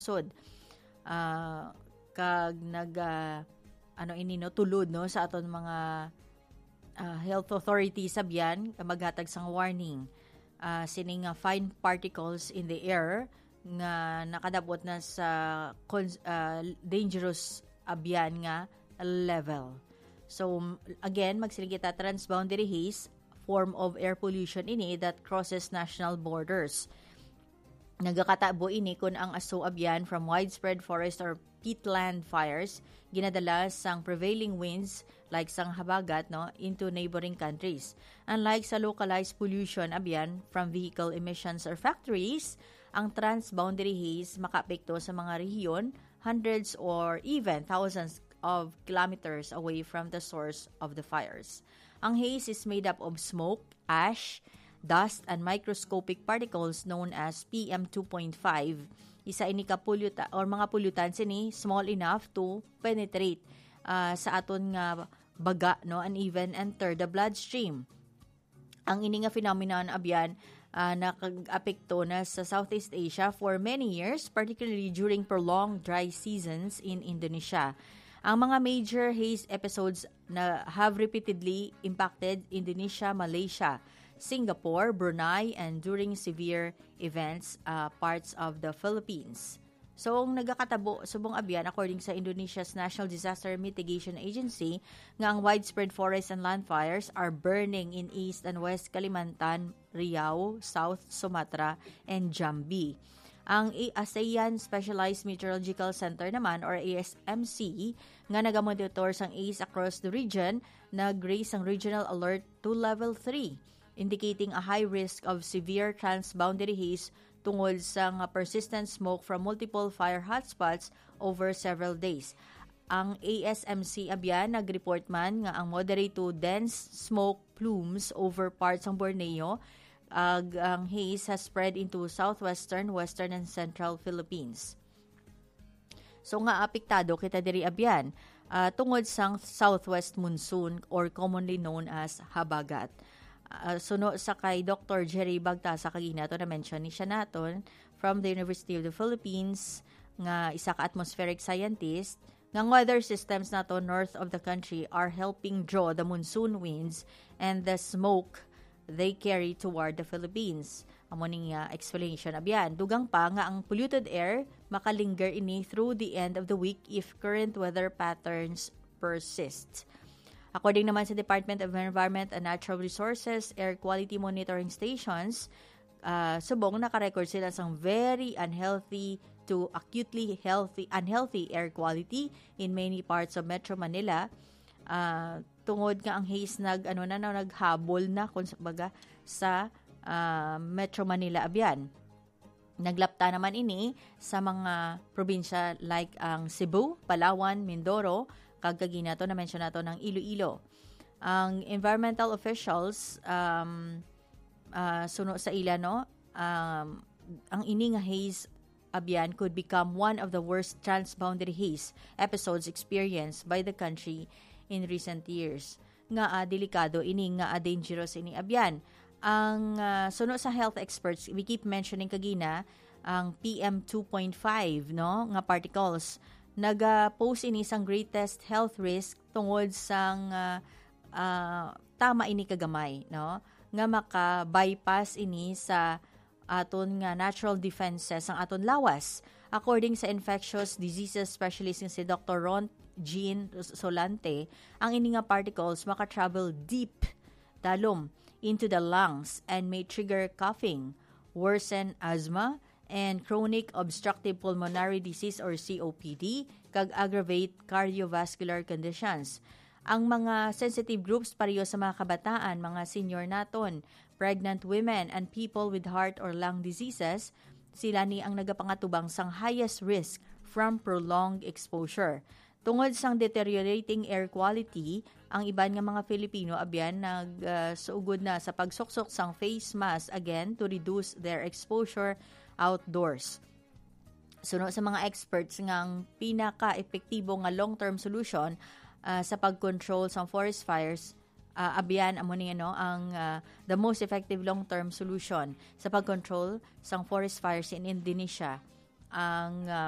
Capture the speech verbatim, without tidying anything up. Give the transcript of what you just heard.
nagapagtod, ah, kag nag, ah, ano ini, no, tulod, no, sa aton mga, ah, health authorities sa Bian, maghatag sang warning, ah, sining nga fine particles in the air nga nakadabot na sa cons-, ah, dangerous Abian nga level. So, m-, again, magsiling kita, transboundary haze, form of air pollution ini that crosses national borders. Nagakatabo ini kun ang aso Abian from widespread forest or peatland fires ginadala sang prevailing winds, like sang habagat, no, into neighboring countries. Unlike sa localized pollution Abian from vehicle emissions or factories, ang transboundary haze makaapekto sa mga rehiyon hundreds or even thousands of kilometers away from the source of the fires. Ang haze is made up of smoke, ash, dust, and microscopic particles known as P M two point five. Isa ini ka polluta-, or mga pollutants ini small enough to penetrate, ah, sa aton nga baga, no, and even enter the bloodstream. Ang ini nga phenomenon, Abian, ah, nakag-apekto na sa Southeast Asia for many years, particularly during prolonged dry seasons in Indonesia. Ang mga major haze episodes na have repeatedly impacted Indonesia, Malaysia, Singapore, Brunei, and during severe events, ah, parts of the Philippines. So, ang nagakatabo subong Abian, according sa Indonesia's National Disaster Mitigation Agency, nga ang widespread forest and land fires are burning in East and West Kalimantan, Riau, South Sumatra, and Jambi. Ang A-, ASEAN Specialized Meteorological Center naman, or A S M C, nga nagamonitor sang haze across the region, nag-raise ang regional alert to level three, indicating a high risk of severe transboundary haze tungod sa nga persistent smoke from multiple fire hotspots over several days. Ang A S M C Abian nag-report man nga ang moderate to dense smoke plumes over parts sang Borneo, ag ang haze has spread into southwestern, western, and central Philippines. So, nga apektado kita diri Abian, ah, tungod sang southwest monsoon, or commonly known as habagat. Ah, suno sa kay Doctor Jerry Bagtasa, kagina to na-mention ni siya naton, from the University of the Philippines, nga isa ka atmospheric scientist, nga ang weather systems nato north of the country are helping draw the monsoon winds and the smoke they carry toward the Philippines. Amo ning, ah, explanation. Abian, dugang pa nga ang polluted air makalinger ini through the end of the week if current weather patterns persist. According naman sa Department of Environment and Natural Resources, air quality monitoring stations, ah, subong nakarecord sila sang very unhealthy to acutely healthy, unhealthy air quality in many parts of Metro Manila. Ah, tungod nga ang haze nag, ano na, na, naghabol na, kung sa baga, sa, ah, Metro Manila, Abian. Naglapta naman ini sa mga probinsya like ang Cebu, Palawan, Mindoro, kag kagina to, na-mention nato ng Iloilo. Ang environmental officials, um, ah, suno sa ila, no, um, ang ini nga haze, Abian, could become one of the worst transboundary haze episodes experienced by the country in recent years. Nga, ah, delikado ini, nga, ah, dangerous ini, Abian. Ang, ah, suno sa health experts, we keep mentioning kagina ang P M two point five, no, nga particles. Naga-pose ini sang greatest health risk tungod sang, ah, ah, tama ini kagamay, no, nga maka-bypass ini sa aton nga natural defenses ang aton lawas. According sa infectious diseases specialist nga si Doctor Ron Jean Solante, ang ini nga particles maka-travel deep, dalom, into the lungs and may trigger coughing, worsen asthma, and chronic obstructive pulmonary disease or C O P D, kag aggravate cardiovascular conditions. Ang mga sensitive groups pareho sa mga kabataan, mga senior naton, pregnant women, and people with heart or lung diseases, sila ni ang nagapangatubang sang highest risk from prolonged exposure. Tungod sang deteriorating air quality, ang iban nga mga Filipino, Abian, nag, ah, suugod na sa pagsuksok sang face mask again to reduce their exposure outdoors. Suno sa mga experts, nga ang pinaka-epektibo nga long-term solution, ah, sa pag-control sang forest fires, ah, Abian, amo ni, ano, ang, ah, the most effective long-term solution sa pag-control sang forest fires in Indonesia. Ang, um,